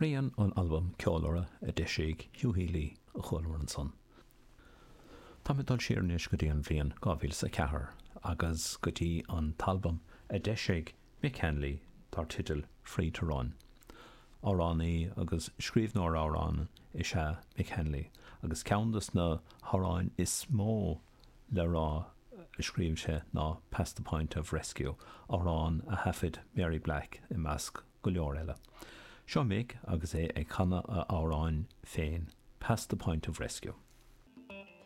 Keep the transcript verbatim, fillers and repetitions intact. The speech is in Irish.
Rian ón albam Ceolurra a d'eisigh Hugh Healy a chualamar ansan. Tá mé dul siar anois go dtí an bhliain dhá mhíle is a ceathair agus go dtí an t-albam a d'eisigh Mick Hanley dar teideal Free to Run. Amhránaí agus scríbhneoir amhrán is ea Mick Hanley agus ceann de na hamhráin is mó le rá a scríobh sé ná Past the Point of Rescue, amhrán a thaifead Mary Black i measc go leor eile. Seo Mick agus é ag canadh a amhráin féin, Past the Point of Rescue.